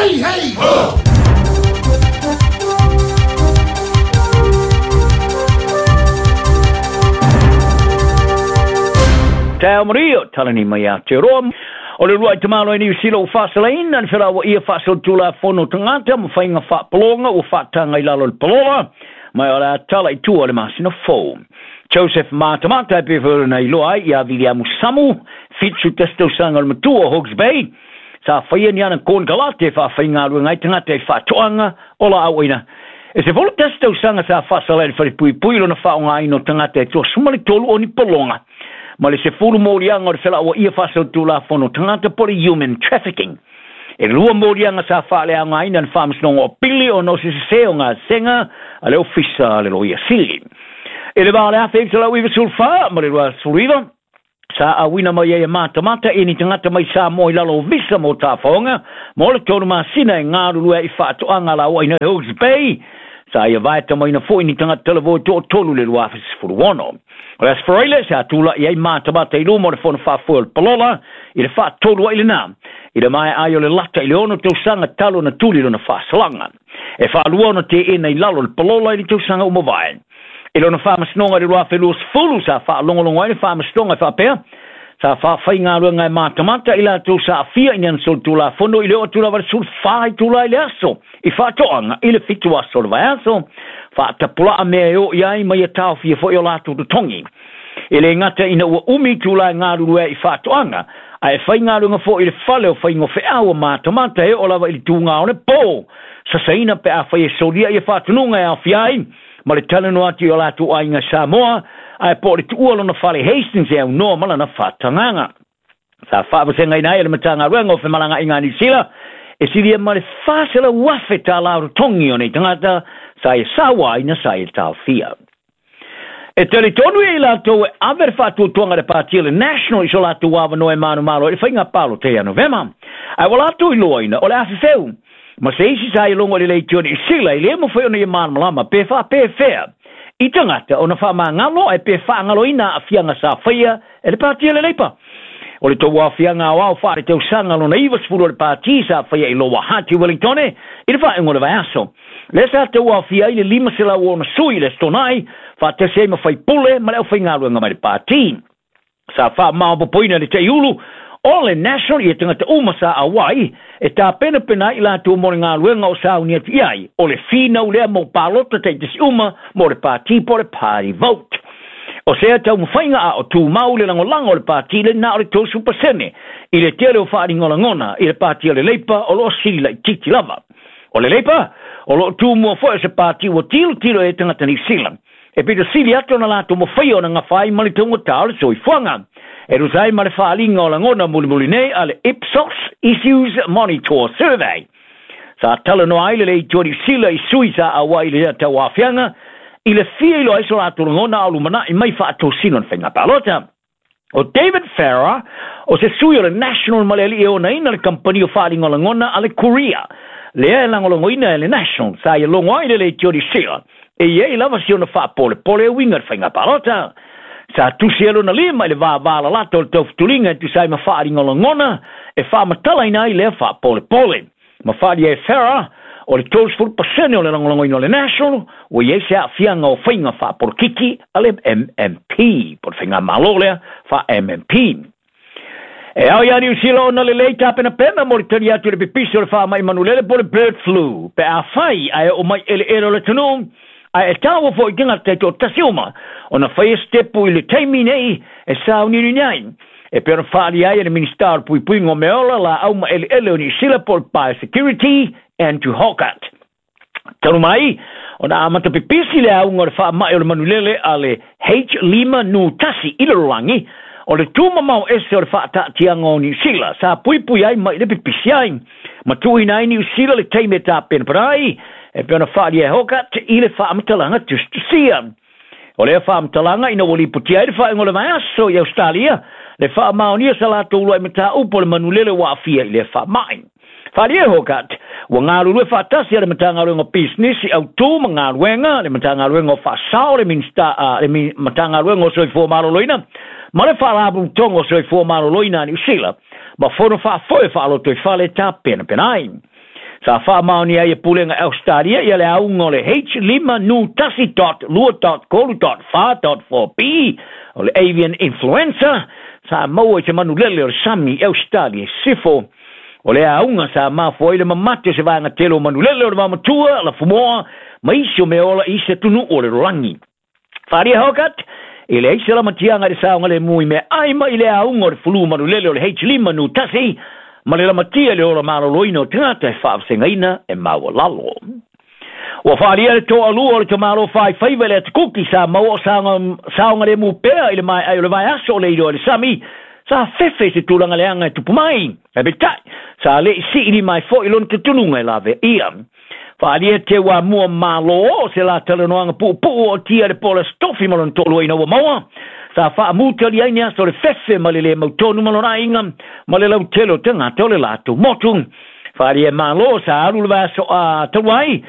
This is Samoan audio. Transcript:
Hey, hey, ho! Taeao manuia, talani mai Aotearoa. O le uluai tamaloa i Niu Sila ua faasalaina le felauaia faasolitulafono tagata ma faiga faapologa ua faataga i lalo o le palola, ma o le a tala i tua le masina fou. Joseph Matamata e pei foi ona iloa ai ia Viliamu Samu, 71 tausaga o le matua o Hawke's Bay, sa faia ni ana konekarate e faafaigaluega ai tagata i faatoaga o laau aina. E 11 tausaga sa faasala i le falepuipui lona faaaogaina o tagata e 23 o ni pologa ma le 10 moliaga o le felauaia faasolitulafono tagata po o le human trafficking. E 2 moliaga sa faaleaogaina le Faamasinoga o Pili ona o se sesē o gasega a le Ofisa a le Loia Sili. I le va o le 1994 ma le 2019, sa auina mai ai e Matamata i ni tagata mai Samoa i lalo o visa mo tafaoga mo le 3 masina e galulue ai i faatoaga lauaina i Hawke's Bay. Sa ia vaetamaina foi ni tagata talavou e toatolu i le 2016. O le Aso Faraile sa tula'i ai Matamata i luma o le fono faafoe o le palola i le faatolu ai lena i le maea ai o le lata i le 6 tausaga talu ona tuli lona faasalaga. E faalua ona teena i lalo o le palola i le tausaga ua mavae. I lona faamasinoga i le 2020 sa faalogologo ai le faamasinoga e faapea, sa faafaigaluega e Matamata i latou sa aafia i ni ana solitulafono i le oo atu lava i le 14 itula i le aso i faatoaga i le 7 aso o le vaiaso, faatapulaa mea e oo i ai ma ia taofia foi o latou totogi. E le gata ina ua umi itula e galulue ai i faatoaga, ae faigaluega foi i le fale o faigofeau o Matamata e oo lava i le tuga o le po, sasaina pe afai e solia ia faatonuga e aofia ai ma le talanoa atu i o latou aiga Samoa, ae po o le tuua lona fale Hastings e aunoa ma lana faatagaga. Sa faavasegaina ai e le Matagaluega o Femalagaaiga a Niu Sila e silia ma le $400,000 tālā o totogi o nei tagata sa ia sauaina sa ia taofia. E talitonu ia i latou e ave le faatuatuaga a le Pāti o le National i so latou avanoa e manumalo ai le faiga palota ia Novema. Ae ua latou iloaina o le afefeu ma se isi sa ia logo i le leitio Niu Sila e le mafai ona ia malamalama pe faapefea i tagata ona faamagalo ae pe faagaloina aafiaga sa faia e le Pāti o le Leipa. O le tauaofiaga aoao faaletausaga lona 90 o le Pāti sa faia i Lower Hutt i Wellingtone i le faaiuga o le vaiaso. Lea sa tauaofia ai le 506 sui i le Aso Toonai, faatasi ai ma faipule ma le aufaigaluega mai le Pāti. Sa faamaopoopoina le taiulu o le National ia tagata uma sa auai e tapenapena ai i latou mo le galuega o sauni atu i ai, o le finau lea mo palota taitasi uma mo le Pāti po o le party vote. O sea taumafaiga a o tumau le lagolago o le Pāti le na o le 30% i le tele o faaaliga o lagona i le Pāti o le Leipa o lo o sili laitiiti lava. O le Leipa, o lo o tumua foi o se pāti ua tilotilo i ai tagata Niu Sila. E pito sili atu ona latou mafaia ona gafa ai ma le taugata o le soifuaga. E tusa ai ma le faaaliga o lagona mulimuli nei a le Ipsos Issues Monitor Survey, sa talanoa ai le leitio Niu Sila i sui sa auai i le tauaofiaga i le fia iloa ai so latou lagona a o lumanai mai faatosina o le faiga palota. O David Farrar, o se sui o le National ma le alii e onaina le kamupani o faaaliga o lagona a le Korea, lea e lagolagoina e le National, sa ia logo ai le leitio Niu Sila, e i ai lava si ona faapolepole e uiga i le faiga palota. Sa tusi ai lona lima i le vāvālalata o le taufutuliga e tusa ai ma faaaliga o lagona e faamatalaina ai lea faapolepole. Ma faaalia e Farrar, o le 30% o le lagolagoina o le National, ua i ai se aafiaga o faiga faapolokiki a le MMP, po o le faigamalo lea faa-MMP. E ao iā Niu Sila ona lelei tapenapena mo le tali atu i le pipisi o le faamai manulele po o le bird flu, pe afai ae oo mai eleele o le atunuu, ae e taua foi i tagata taitoatasi uma ona faia se tepu i le taimi nei e sauniuni ai. E pei ona faaalia ai e le Minisita o le Puipuiga o Meaola, Laau ma Eleele o Niu Sila po o le Biosecurity, Andrew Hoggart. Talu mai ona amata pipisi le auga o le faamai o le manulele a le H5N1 i le lalolagi, o le tumamao ese o le faataatiaga o Niu Sila sa puipui ai mai le pipisi ai. Ma tuuina ai Niu Sila le taimi e tapenapena ai, e pei ona faaalia e Hoggart i le faamatalaga tusitusia. O lea faamatalaga ina ua lipotia ai le faaiuga o le vaiaso i Ausetalia, le faamaonia sa latou uluai mataupu o le manulele ua aafia i lea faamai. Faaalia e Hoggart, ua galulue faatasi a le Matagaluega o Pisinisi, Autu ma Galuega, le Matagaluega o Faasao, le Minisita, le Matagaluega o Soifua Maloloina ma le Faalapotopotoga o Soifua Maloloina a Niu Sila, ma fono faafoe faalotoifale e tapenapena ai. Sa faamaonia ai e Pulega Ausetalia ia le auga o le H5N1.2.3.4.4B o le avian influenza sa maua i se manulele o le sami i Ausetalia i Sisifo. O le auga sa mafua ai le mamate o se vaega tele o manulele o le vaomatua, lafumoa ma isi o meaola i isi atunuu o le lalolagi. Faaalia Hoggard e leai se lamatiaga i le saogalemu i meaai mai i le auga o le fulu manulele o le H5N1 ma le lamatia i le ola maloloina o tagata e faavasegaina e maualalo. Ua faaalia le toalua o le tamālo faifaiva i le Atukuki sa maua o saogalemu pea i le maeai o le vaiaso o le iloa i le sami sa fefe i se tulaga leaga e tupu mai. Ae peitai, sa le i siilima ai foi lona talitonuga e laveaia. Faaalia Teuamua Malo o se la talanoaga puupuu o tia le po o le Aso Tofi ma lona toalua ina ua maua sa faamutali ai ni aso o le fefe ma le lē mautonu ma lona aiga ma le lautele o tagata o le latou motu. Faaalia e Malo sa alu le vaiaso a talu ai.